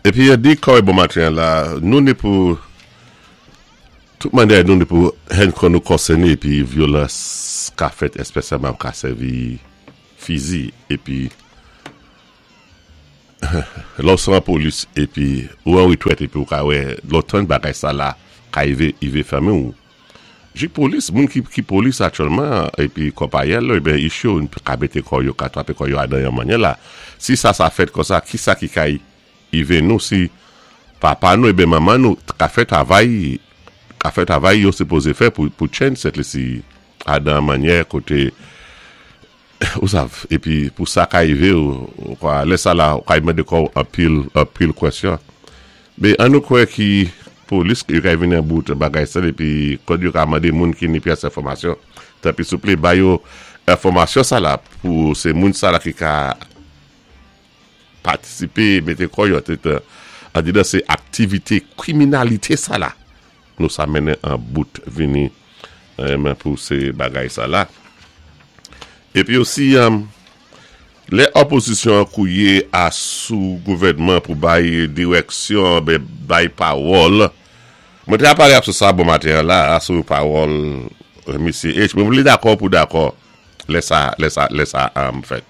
Épi yo di kòwé bon maten la, nou ni pou tout mannyè nou ni pou henn kò nou konsèné épi vyolans ka fèt, èspèsyalman ka sèvi fizi. Épi lè w san polis épi ou an retrèt épi ou ka wè lè w tann bagay sa la ka ivé ivé fanmi w jik polis, moun ki polis aktyèlman épi konpayèl yo, eben ich yo ka mete kò yo, ka trape kò yo adan yon mannyè la. Si sa sa fèt konsa, kisa ki ka ive nou si papa nou eben manman nou ka fè travay ka fè travay yo sipoze fè pou chen sèt li si adan mannyè kote ou sav epi pou sa ka ive ou kwa lè sa la ou ka mande kò ou anpil anpil kwèsyon. Be an nou kwè ki polis yo ka vini an bout bagay sa epi kòd yo ka mande moun ki ni pyès enfòmasyon, tanpri souple ba yo enfòmasyon sa la pou se moun sa la ki ka patisipe, mete kò yo andedan se aktivite kriminalite sa la nou sa mennen an bout vini men pou se bagay sa la. Epi osi lè opozisyon an kouye a sou gouvènman pou bay dirèksyon, bay pawòl, mwen te pale ap sou sa bon maten an la a sou pawòl mesye H, mwen vle dakò pou dakò lè sa lè sa lè sa fèt.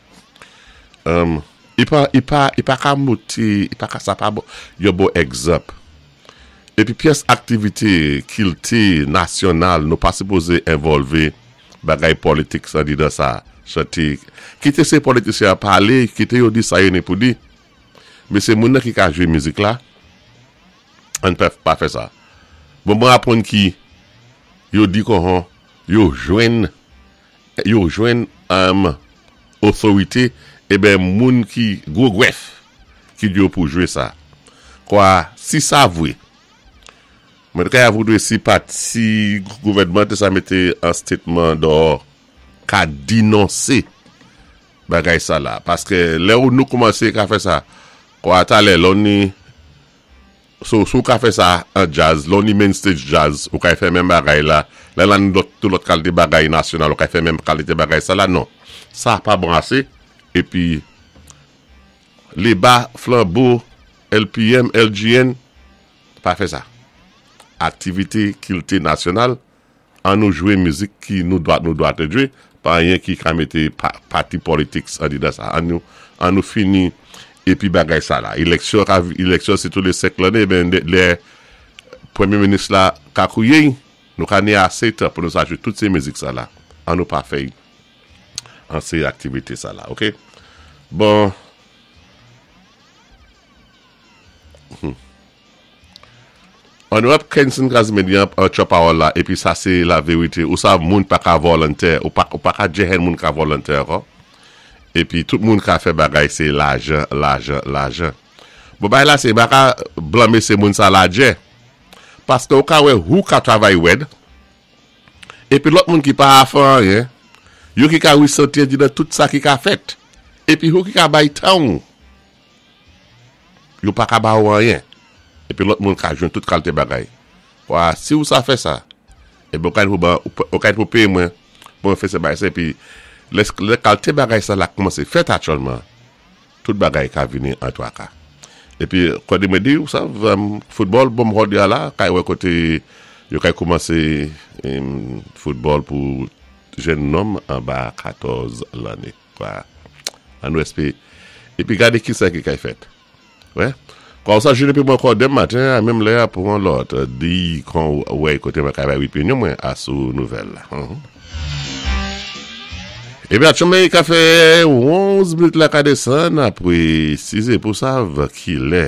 I pa i pa i pa ka moti i pa ka sa pa bon yon bon egzanp. Epi pyès aktivite kilti nasyonal nou pa sipoze envòlve bagay politik andidan sa, chante kite se politisyen an pale, kite yo di sa yo ni pou di, men se moun nan ki ka jwe mizik la, ann pa fè sa. Bon mwen aprann ki yo di konhon yo jwenn yo jwenn otorite eben moun ki gwo grèf ki di yo pou jwe sa kwa si sa vwe mwen ka voudre si pati gouvènman te sa mete an statement dò ka dinonse bagay sa la paske lè ou nou koumanse ka fè sa kwa talè lò ni. So si w ka fè sa an djaz, lè w ni main stage djaz ou ka fè menm bagay la, lè lan lòt tout lòt kalite bagay nasyonal ou ka fè menm kalite bagay sa la, non. Sa pa bon ase, epi Leba, Flanbo, LPM, LGN, pa fè sa. Aktivite kilte nasyonal, An nou jwe mizik ki nou dwa nou dwa te jwe, pa anyen ki ka mete pati politics andedan sa. An nou an nou fini epi bagay sa la. Eleksyon ka eleksyon se tou le 5 lanne ben lè premye minis la ka kouye nou ka ni ase tan pou nou sa jwe tout se mizik sa la. An nou pa fè an se aktivite sa la ok. Bon. Honorable Kenson Casimir di an tchò pawòl la epi sa se la verite, ou sav moun pa ka vòlantè, ou pa ou pa ka djehen moun ka vòlantè ankò, epi tout moun ka fè bagay se lajan lajan lajan. Bon bagay la se m pa ka blanme se moun sa ladjè paske ou ka wè hou ka travay wèd epi lòt moun ki pa afè anyen yo ki ka resanti di nan tout sa ki ka fèt epi hou ki ka bay tan ou. Yo pa ka ba ou anyen. Epi lòt moun ka jwenn tout kalte bagay. Wa, si ou sa fè sa, epi ou ka pou ban, ou ka pou peye mwen pou mwen fè se bagay sa, epi lè, lè kalte bagay sa la koumanse fèt aktyèlman, tout bagay ka vini an twaka. Epi, kòde mwen di ou sa, foutbòl, bon m hòde a la, kay wè kote yo kay koumanse foutbòl pou jenn nonm anba 14 lanne. Kwa, an nou espe. Epi gade kisa ki kay fèt. Wè? Kwa ou sa jene pi mwen ankò demen maten a menm lè a pou yon lòt di kon wè kote mwen ka bay opinyon mwen a sou nouvèl la. Epi atchonmen ka fè 11 minit la ka desann apre 6 e pou sav ki lè.